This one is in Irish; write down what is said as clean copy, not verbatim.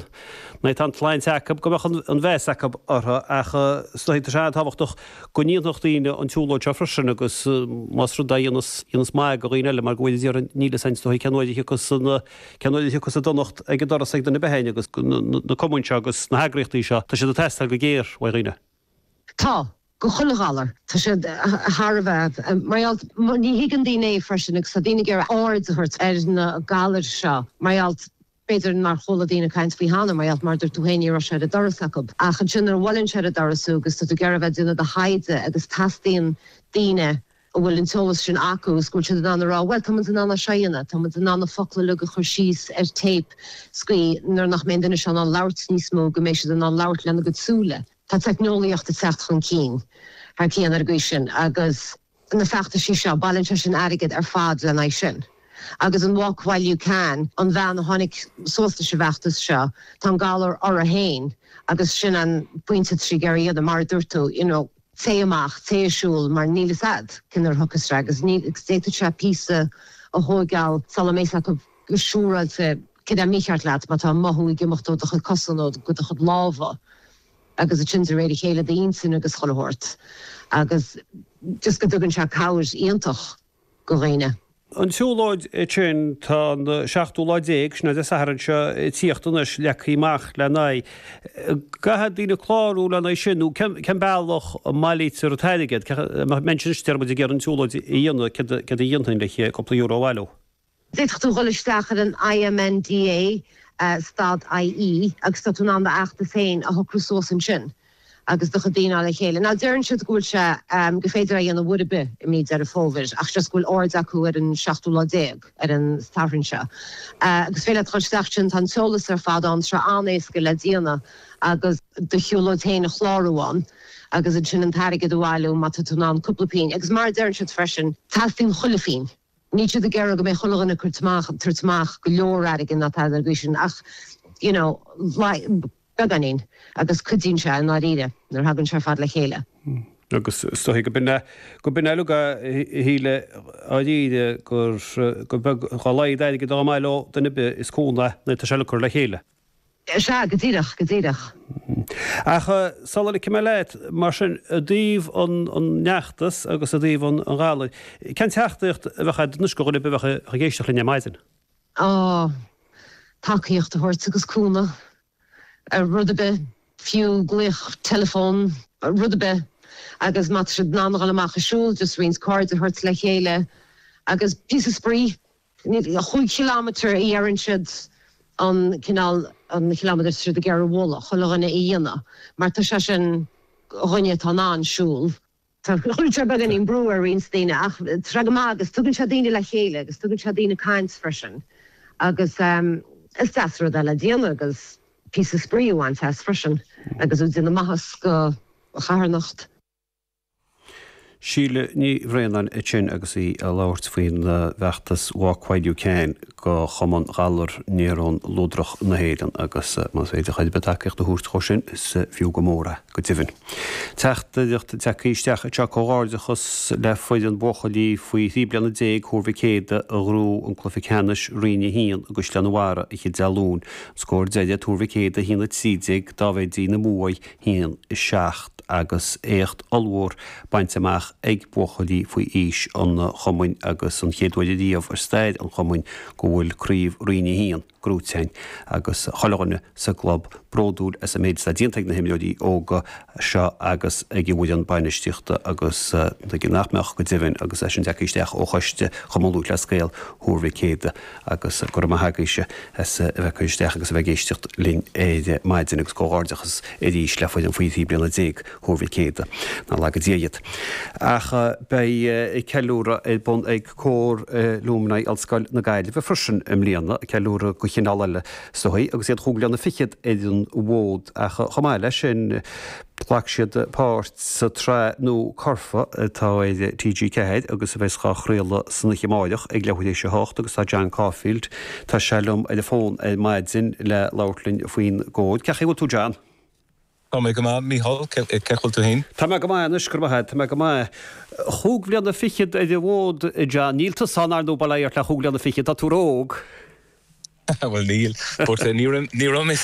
Nuair atá an tsláinte acu, go mbeadh an mheas acu orthu ach is dóigh tá sé an-tábhachtach go ndéanfadh daoine an tsiúlóid seo freisin agus más rud é a dhéanas maith do dhaoine eile mar go bhfuil déarfainn níl fhios a'inn is dóigh cén uair a thiocfas an cén uair a thiocfas an donacht ag an doras ag duine ar bith againn agus na cumainn seo agus na heagraíochtaí seo tá siad ag teastáil go géar uaidh dhaoine. Tá, go chuile ghalar. Tá siad thar a bheith. Mar gheall, ní thuigeann daoine é freisin agus tá daoine ag iarraidh aird a thabhairt ar na galair seo mar gheall, B'fhéidir nár chuala daoine caint faoi cheana, mar gheall, mar a dúirt tú féin, ní raibh sé ar an doras acu. Ach ansin nuair a bhuaileann sé ar an doras thú agus tá tú ag iarraidh a bheith ag déanamh do thaighde agus teastaíonn daoine a bhfuil an t-eolas sin acu agus go bhfuil siad in ann a rá, bhuel, tá muid in ann é seo a dhéanamh, tá muid in ann na focla uilig a chur síos ar téip sa gcaoi nuair nach mbeidh an duine seo in ann labhairt níos mó go mbeidh siad in ann labhairt lena gcuid súile. Tá teicneolaíocht ag teacht chun cinn thar cionn ar an gcaoi sin agus. na feachtaisí seo, bailíonn sé sin airgead ar fad lena aghaidh sin. Agus an Walk While You Can, an bhean a tháinig suas leis an bhfeachtas seo, tá an galar uirthi féin agus sin an pointe atá sí ag iarraidh a dhéanamh, mar a dúirt tú, you know, téigh amach, téigh ag siúl mar níl fhios a'd cén uair a thiocfas sé agus ní, agus d'fhéadfadh sé píosa a thóigeáil sula mbeidh fhios acu go siúráilte céard é mícheart leat má tá mothú ag imeacht ó do chuid cosa nó go do chuid lámha. agus ansin de réir a chéile d'intinn agus chuile shórt agus just go dtugann sé cabhair iontach go dhaoine. An tsiúlóid sin, tá an seachtú lá déag, sin é Dé Sathairn seo ag tíocht anois, leagtha amach lena aghaidh. Caithfidh daoine clárú lena aghaidh sin nó cén bealach a mbailítear an t-airgead? Mbeidh anois déarfaidh muid ag iarraidh an tsiúlóid a dhéanamh, céard a dhéanfainn le cúpla euro a bhailiú? D'fhéadfadh tú dhul isteach ar an IMNDA stad IE agus tá tú in ann d'fheachtas féin a shocrú suas ansin agus do chuid daoine le chéile. Now deireann siad go bhfuil sé, gur féidir é a dhéanamh uair ar bith i mí Deireadh Fómhair ach just go bhfuil aird acu ar an seachtú lá déag, ar an Satharn seo. Agus féidir leat dhul isteach ansin, tá an t-eolas ar fad ann, tá sé an-éasca le déanamh agus do shiúlóid féin a chlárú ann agus ansin an t-airgead a bhailiú má tá tú in ann cúpla pingin. Agus mar a deireann siad freisin, teastaíonn chuile phingin. Níl siad ag iarraidh go mbeidh chuile dhuine ag tabhairt amach, tabhairt amach go leor airgid ná tada ar an gcaoi sin ach you know beagáinín agus cuidíonn sé i ndáiríre nuair a thagann sé ar fad le chéile. Agus is dóigh go b'in é, go b'in é uilig a Shíle dháiríre gur, gur beag, dá laghad airgid dá mbaileodh duine ar bith is cúnamh é nuair atá sé uilig curtha le chéile. Sea, go díreach, go díreach. Ach sula ligfidh mé leat, mar sin, i dtaobh an fheachtais agus i dtaobh an ghalair, cén teachtaireacht a bheadh agat anois do dhuine ar bith a bheadh ag éisteacht linn ar maidin? Á, tacaíocht a thabhairt agus cúnamh, rud ar bith, fiú glaoch teileafóin, rud ar bith. Agus má tá siad in ann a dhul amach ag siúl, just roinnt cairde a thabhairt le chéile agus píosa spraoi. 5 chileámeter a dheireann siad an cineál an chileámeter tá siad ag iarraidh a mholadh chuile dhuine a dhéanamh mar tá sé sin do dhuine atá in ann siúl. Tá cuireann sé beagáinín brú ar roinnt daoine ach tá sé go maith agus tugann sé daoine le chéile agus tugann sé daoine ag caint freisin agus is deas rud é le déanamh agus píosa spraoi a bhaint as freisin agus ag déanamh maitheas do charthanacht. Síle Ní Bhraonáin ansin agus í ag labhairt faoin bhfeachtas Walk While You Can do Chumann Ghalar Néarón Luadrach na hÉireann agus más féidir chuid ar bith tacaíocht a thabhairt dhó sin is fiú go mór é, go deimhin. Teachtaireacht tagtha isteach anseo comhghairdeachas le foireann buachaillí faoi thrí bliana déag Thuar Mhic Éadaigh a ghnóthaigh an cluiche ceannais Roinn 1 i gCaisleán an Bharraigh oíche Dé Luain. Scór deiridh Tuar Mhic Éadaigh 1 13, Dámh Aidí na Muaidh 1, 7 agus éacht ollmhór bainte amach ag buachaillí faoi aois an chumainn agus an chéad uair ariamh ar stair an chumainn go bhfuil craobh Roinn 1 gnóite againn agus chuile dhuine sa gclub bródúil as an méid atá déanta ag na himreoirí óga seo agus ag an bhfoireann bainistíochta agus tuige nach mbeadh go deimhin agus é sin tagtha isteach ó choiste Chumann Lúthchleas Gael Thuar Mhic Éadaigh agus go raibh maith agaibhse as a bheith ag cur isteach agus a bheith ag éisteacht linn ar maidin agus comhghairdeachas arís le foireann faoi thrí bliana déag Thuar Mhic Éadaigh. Nár laga Dia iad. Ach beidh ceiliúradh ar bun ag Cór Alumni Ollscoil na Gaillimhe freisin i mbliana, ceiliúradh de chineál eile is dóigh, agus iad chúig bliana fichead ar an bhfód ach chomh maith leis sin, Ghlac siad páirt sa tsraith nua Curfá atá ar TG4 agus a bheas á chraoladh san oíche amáireach ag leathuair théis a hocht agus tá John Caulfield, tá sé liom ar an bhfón ar maidin le labhairt linn faoin gcór. Cén chaoi a bhfuil tú John? Tá mé go maith Mícheál, cén chaoi a bhfuil tú féin? Tá mé go maith anois, go raibh maith agat, tá mé go maith. Chúig bhliana fichead ar an bhfód John, níl tusa ann ar ndóigh bail ó Dhia ort le chúig bhliana fichead, tá tú ró-óg. Bhuel níl, but ní raibh mé.